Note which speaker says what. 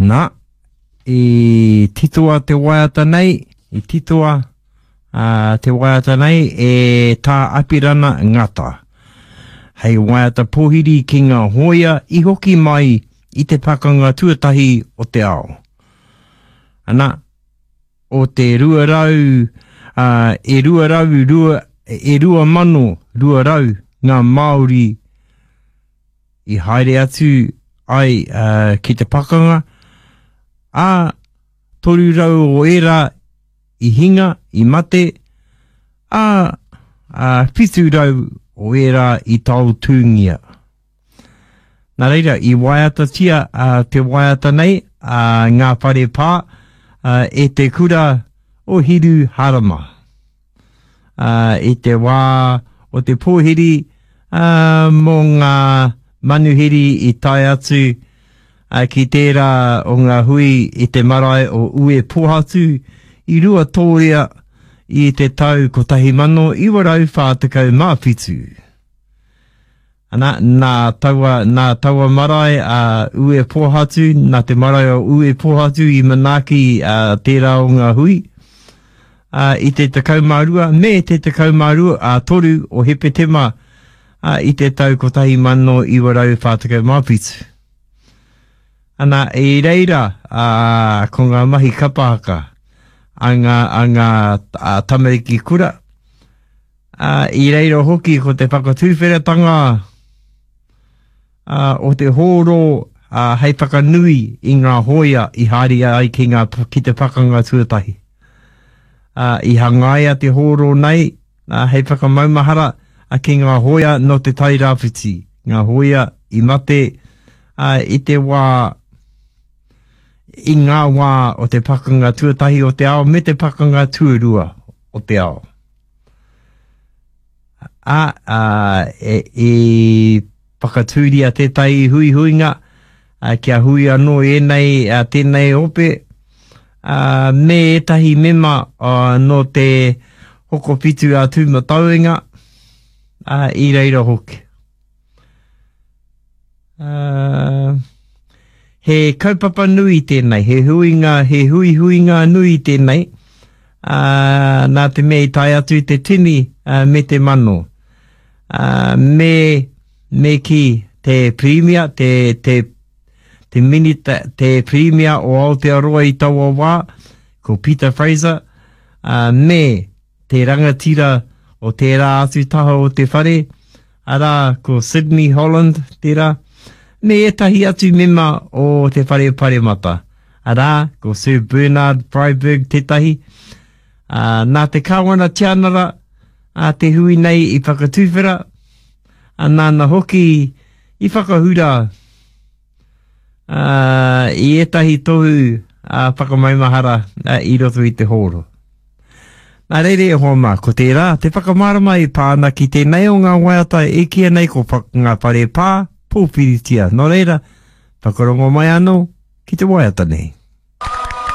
Speaker 1: Nā, i titoa te waiata nei, i titoa uh, te waiata nei e Tā Apirana Ngata. Hei waiata pōhiri ki ngā hōia i hoki mai i te pakanga tuatahi o te ao. Ana, o te 200, uh, e 200, rua, e 2,200 ngā Māori i haere atu ai uh, ki te pakanga, ā, 300 o ērā i hinga, i mate, ā, ā 700 o ērā i taotūngia. Nā reira, i waiatatia uh, te waiata nei, uh, ngā whare pā, uh, e te kura o Hiru Harama. Uh, I te wā o te pōhiri uh, mō ngā manuhiri i tae atu uh, ki tērā o ngā hui i te marae o Uepōhatu i Ruatōrea i te tau 1947. Ana, nā taua, nā taua marae a Uepōhatu, nā te marae o Uepōhatu i manaaki a tērā o ngā hui, a, i te 12 me te 12 a 3 o Hepetema a, i te tau 1947. Ana, i reira a, ko ngā mahi kapa haka a ngā, a ngā a tamariki kura, Ā, i reira hoki ko te whakatuwheratanga ā, o te hōro ā, hei whakanui i ngā hōia i haere ai ki, ngā, ki te pakanga tuatahi. Ā, i hangaia te hōro nei ā, hei whakamaumahara ā, ki ngā hōia nō te Tai Rāwhiti, ngā hōia i mate ā, i te wā i ngā wā o te pakanga tuatahi o te ao me te pakanga tuarua o te ao. Ā, ā, e, i whakatūria tētahi huihuinga ā, kia hui anō ēnei, ā, tēnei ope, ā, me ētahi mema ā, nō te Hokowhitu a Tūmatauenga, ā, i reira hoki. Uh, he kaupapa nui tēnei, he huinga, he huihuinga nui tēnei, uh, nā te mea i tae atu te tini uh, me te mano. Uh, me, me ki te pirimia, te, te, te minita, te pirimia o Aotearoa i taua wā, ko Peter Fraser, uh, me te rangatira o tērā atu taha o te whare, arā, ko Sidney Holland tērā, me ētahi atu mema o te whare paremata, arā, ko Sir Bernard Freyberg tētahi. Ā, nā te Kāwana Tianara a te hui nei i whakatuwhera, ā, nāna hoki i whakahura ā, i ētahi tohu ā, whakamaumahara ā, i roto i te hōro. Nā reira e hoa mā, ko tērā te whakamārama e pā ana ki tēnei o ngā waiata e kīia nei ko Ngā Whare Pā, Pōwhiritia. Nō reira, whakarongo mai anō ki te waiata nei.